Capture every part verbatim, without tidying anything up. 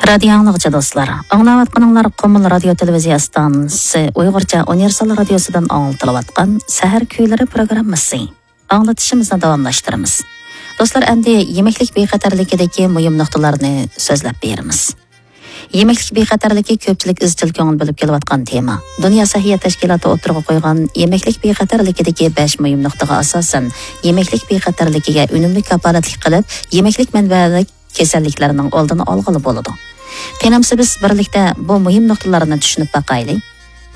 رادىيو ئاڭلىغۇچى دوستلار، ئاڭلاۋاتقىنىڭلار قۇمۇل رادىيو تېلېۋىزىيە ئىستانسىسى ئۇيغۇرچە ئۇنىۋېرسال رادىيوسىدىن ئاڭلىتىلىۋاتقان سەھەر كۈيلىرى پروگراممىسى. ئاڭلىتىشىمىزنى داۋاملاشتۇرىمىز. دوستلار، ئەمدى يېمەكلىك بىخەتەرلىكىدىكى مۇھىم نۇقتىلارنى سۆزلەپ بېرىمىز. يېمەكلىك بىخەتەرلىكى كۆپچىلىك ئىزچىل كۆڭۈل بۆلۈپ كېلىۋاتقان تېما. دۇنيا سەھىيە تەشكىلاتى ئوتتۇرىغا قويغان يېمەكلىك بىخەتەرلىكىدىكى بەش مۇھىم نۇقتىغا ئاساسەن، يېمەكلىك بىخەتەرلىكىگە ئۈنۈملۈك كاپالەتلىك قىلىپ، يېمەكلىك مەنبەلىك كېسەللىكلەرنىڭ ئالدىنى ئالغىلى بولىدۇ. قېنىمسە بىز بىرلىكتە بۇ مۇھىم نۇقتىلارنى چۈشىنىپ باقايلى.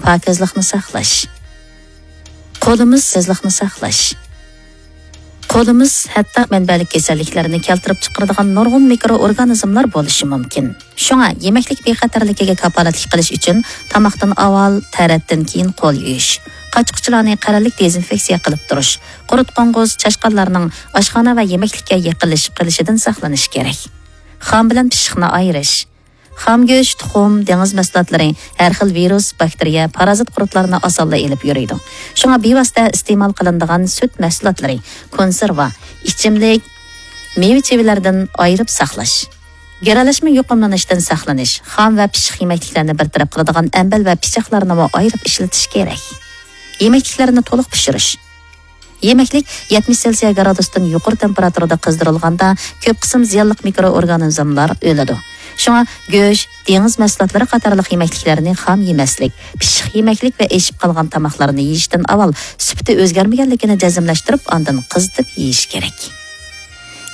پاكىزلىقنى ساقلاش. قولىمىز سېزلىقنى ساقلاش. قولىمىز ھەتتا مەنبەلىك كېسەللىكلەرنى كەلتۈرۈپ چىقىرىدىغان نۇرغۇن مىكرو ئورگانىزملار بولۇشى مۇمكىن. شۇڭا يېمەكلىك بىخەتەرلىكىگە كاپالەتلىك قىلىش ئۈچۈن تاماقتىن ئاۋۋال، تەرەتتىن كېيىن قول يۇيۇش، قاچا-قۇچىلارنى قەرەللىك دېزىنفېكسىيە قىلىپ تۇرۇش، قۇرت-قوڭغۇز، چاشقانلارنىڭ ئاشخانا ۋە يېمەكلىككە يېقىنلىشىپ قېلىشىدىن ساقلىنىش كېرەك. خام بىلەن پىششىقنى ئايرىش. خام گۆش، تۇخۇم، دېڭىز مەھسۇلاتلىرى ھەر خىل ۋىرۇس، باكتېرىيە، پارازىت قۇرتلارنى ئاسانلا ئېلىپ يۈرىدۇ. شۇڭا بىۋاسىتە ئىستېمال قىلىنىدىغان سۈت مەھسۇلاتلىرى، كونسېرۋا، ئىچىملىك، مېۋە-چېۋىلەردىن ئايرىپ ساقلاش. گىرەلەشمە يۇقۇملىنىشتىن ساقلىنىش، خام ۋە پىششىق يېمەكلىكلەرنى بىر تەرەپ قىلىدىغان ئەمبەر ۋە پىچاقلارنىمۇ ئايرىپ ئىشلىتىش كېرەك. يېمەكلىكلەرنى تولۇق پىشۇرۇش. يېمەكلىك يەتمىش سېلسىيە گرادۇستىن يۇقىرى تېمپېراتۇرىدا قىزدۇرۇلغاندا، كۆپ قىسىم زىيانلىق مىكرو ئورگانىزملار ئۆلىدۇ. شۇڭا گۆش، دېڭىز مەھسۇلاتلىرى قاتارلىق يېمەكلىكلەرنى خام يېمەسلىك، پىششىق يېمەكلىك ۋە ئېشىپ قالغان تاماقلارنى يېيىشتىن ئاۋۋال سۈپىتى ئۆزگەرمىگەنلىكىنى جەزملەشتۈرۈپ، ئاندىن قىزىتىپ يېيىش كېرەك.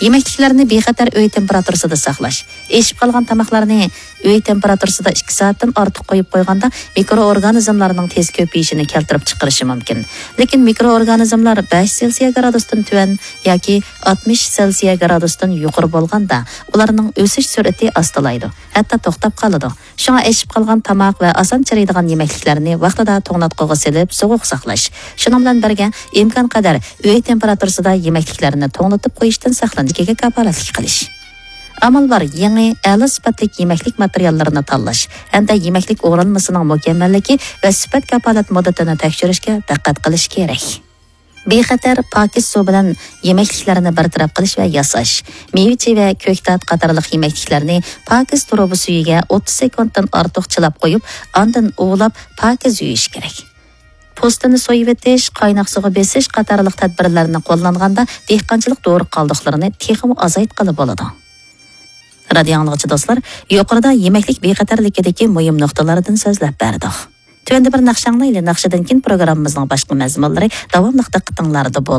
يېمەكلىكلەرنى بىخەتەر ئۆي تېمپېراتۇرىسىدا ساقلاش. ئېشىپ قالغان تاماقلارنى ئۆي تېمپېراتۇرىسىدا ئىككى سائەتتىن ئارتۇق قويۇپ قويغاندا، مىكرو ئورگانىزملارنىڭ تېز كۆپىيىشىنى كەلتۈرۈپ چىقىرىشى مۇمكىن. لېكىن مىكرو ئورگانىزملار بەش سېلسىيە گرادۇستىن تۆۋەن ياكى ئاتمىش سېلسىيە گرادۇستىن يۇقىرى بولغاندا، ئۇلارنىڭ ئۆسۈش سۈرئىتى ئاستىلايدۇ، ھەتتا توختاپ قالىدۇ. شۇڭا ئېشىپ قالغان تاماق ۋە ئاسان چىرىيدىغان يېمەكلىكلەرنى ۋاقتىدا توڭلاتقۇغا سېلىپ سوغۇق ساقلاش. شۇنىڭ بىلەن بىرگە، ئىمكانقەدەر ئۆي تېمپېراتۇرىسىدا يېمەكلىكلەرنى توڭلىتىپ قويۇشتىن ساقلىنىشىگە كاپالەتلىك قىلىش. ئامال بار، يېڭى، ئەلا سۈپەتلىك يېمەكلىك ماتېرىياللىرىنى تاللاش ھەمدە يېمەكلىك ئورالمىسىنىڭ مۇكەممەللىكى ۋە سۈپەت كاپالەت مۇددىتىنى تەكشۈرۈشكە دىققەت قىلىش كېرەك. بىخەتەر، پاكىز سۇ بىلەن يېمەكلىكلەرنى بىر تەرەپ قىلىش ۋە ياساش. مېۋە-چېۋە، كۆكتات قاتارلىق يېمەكلىكلەرنى پاكىز تۇرۇبا سۈيىگە ئوتتۇز سېكۇنتتىن ئارتۇق چىلاپ قويۇپ، ئاندىن ئۇۋىلاپ پاكىز يۇيۇش كېرەك. پوستىنى سويۇۋېتىش، قايناق سۇغا بېسىش قاتارلىق تەدبىرلەرنى قوللانغاندا، دېھقانچىلىق دورا قالدۇقلىرىنى تېخىمۇ ئازايتقىلى بولىدۇ. رادىيو ئاڭلىغۇچى دوستلار، يۇقىرىدا يېمەكلىك بىخەتەرلىكىدىكى مۇھىم نۇقتىلاردىن سۆزلەپ بەردۇق. تۆۋەندە بىر ناخشا ئاڭلايلى، ناخشىدىن كېيىن پروگراممىمىزنىڭ باشقا مەزمۇنلىرى داۋاملىق دىققىتىڭلاردا بولىدۇ.